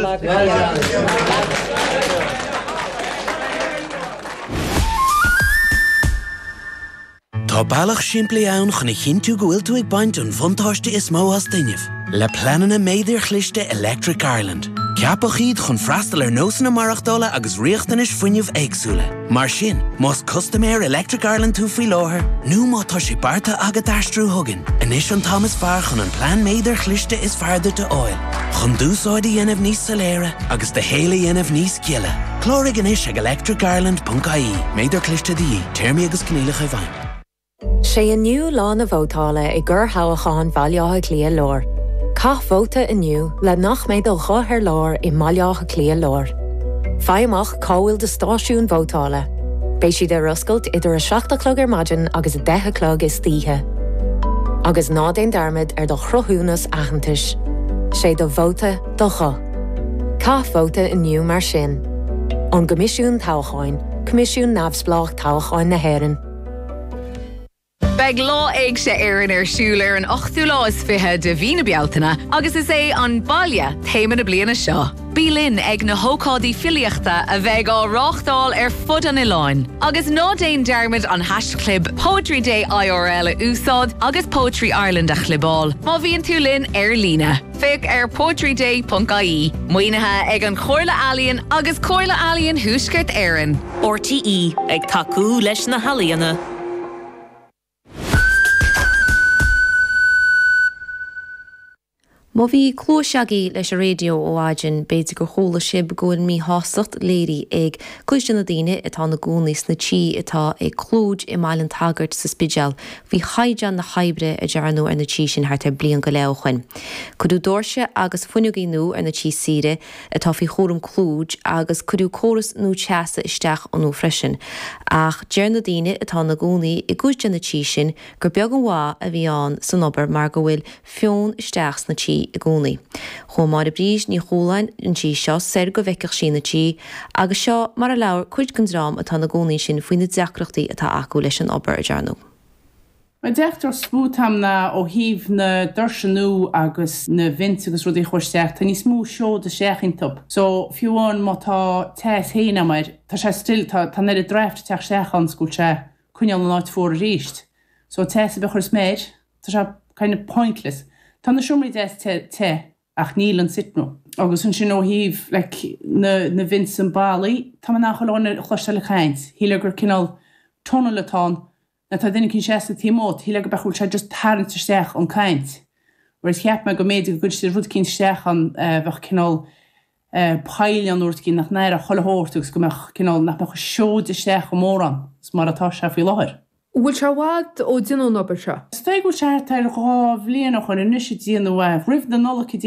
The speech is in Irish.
Tá bealach simplí ann chun a chinntiú go bhfuil tú ag baint an bhuntáiste is mó as d'fhuinneamh, le pleananna méadair chliste Electric Ireland. Ceapadh iad chun freastal ar nósanna maireachtála agus riachtanais fuinnimh éagsúla. Mar sin, más custaiméir Electric Ireland tú faoi láthair, nó má tá sé beartaithe agat aistriú chugainn, anois an t-am is fearr chun an plean méadair chliste is fearr duit a fháil, chun d'úsáid a dhéanamh níos soiléire agus do shaol a dhéanamh níos gile. Cláraigh anois ag electricireland.ie. Méadar cliste de dhíth. Téarmaí agus coinníollacha i bhfeidhm. 'Sé inniu lá na vótála i gcorrthoghchán Bhaile Átha Cliath Láir. Caith vóta inniu le nach mbeidh do ghuth ar lár i mBaile Átha Cliath Láir. Faigh amach cá bhfuil do stáisiún vótála. Beidh siad ar oscailt idir 7 a chlog ar maidin agus 10 a chlog istoíche. Agus ná déan dearmad ar do chruthúnas aitheantais. 'Sé do vóta do ghuth. Caith vóta inniu mar sin. Ón gCoimisiún Toghcháin, Coimisiún Neamhspleách Toghcháin na hÉireann. Beidh Lá Éigse Éireann ar siúl ar an ochtú lá is 20 de mhí na Bealtaine agus is é 'An Baile' téama na bliana seo. Bí linn ag na hócáidí filíochta a bheidh á reáchtáil ar fud an oileáin. Agus ná déan dearmad an haischlib PoetryDayIRL a úsáid agus Poetry Ireland a chlibeáil má bhíonn tú linn ar líne. Féach ar poetryday.ie. Maoinithe ag an Chomhairle Ealaíon agus Comhairle Ealaíon Thuaisceart Éireann. RTÉ, ag tacú leis na healaíona. Má bhí cluais agaibh leis an raidió ó mhaidin, b'fhéidir gur chuala sibh go bhfuil míshástacht léirithe ag cuid de na daoine atá ina gcónaí sna tithe atá ag Clúid i mBaile an tSagairt sa Spidéal faoi chaighdeán na hoibre a dearnadh ar na tithe sin thart ar bliain go leith ó shoin. Cuireadh doirse agus fuinneogaí nua ar na tithe saoire atá faoi chúram Clúid agus cuireadh córas nua teasa isteach iontu freisin. Ach deir na daoine atá ina gcónaí i gcuid de na tithe sin gur beag an mhaith a bhí ann san obair mar go bhfuil feon isteach sna tithe i gcónaí. Chuaigh Máire Bríd Ní Chualáin an tslí seo soir go bhfeicfeadh sí na tithe agus seo mar a labhair cuid den dream atá ina gcónaí ansin faoi na deacrachtaí atá acu leis an obair a dearnadh. An deacracht is mó atá a'm ná ó thaobh na doirse nua agus na vents agus rudaí a chuir isteach, tá níos mó seod isteach iontub. So fiú amháin má tá teas féin a'm air, tá sé still, tá, tá an oiread draft ag teacht isteach ann 's go bhfuil sé coinneáil an áit fuar aríst. So teas ar bith a chuireas mé air, tá sé kind of pointless. Tá na seomraí deas te, te ach níl an sitting room. Agus ansin ó thaobh like na, na vents an ballaí, tá mé in ann chuile dhuine a chloisteáil ag caint. Shílfeá gur cineál tunnel atá ann Nuair atá duine eicínt seasta taobh amuigh, shílfeá go b'fhéidir go bhfuil sé just tarraingt isteach an caint. Whereas cheap mé go mb'fhéidir go gcuirfeadh siad rud eicínt isteach ann bheadh cineál poill ann nó rud eicínt nach n-aireodh chuile shórt agus go mbeadh cineál, nach mbeadh an seoid isteach chomh mórán is mar atá sé faoi láthair. An bhfuil sé i bhfad ó déanadh an obair seo? Is dóigh go bhfuil sé thart ar dhá bhliain ó shoin anois a déanadh é, roimh na Nollag a.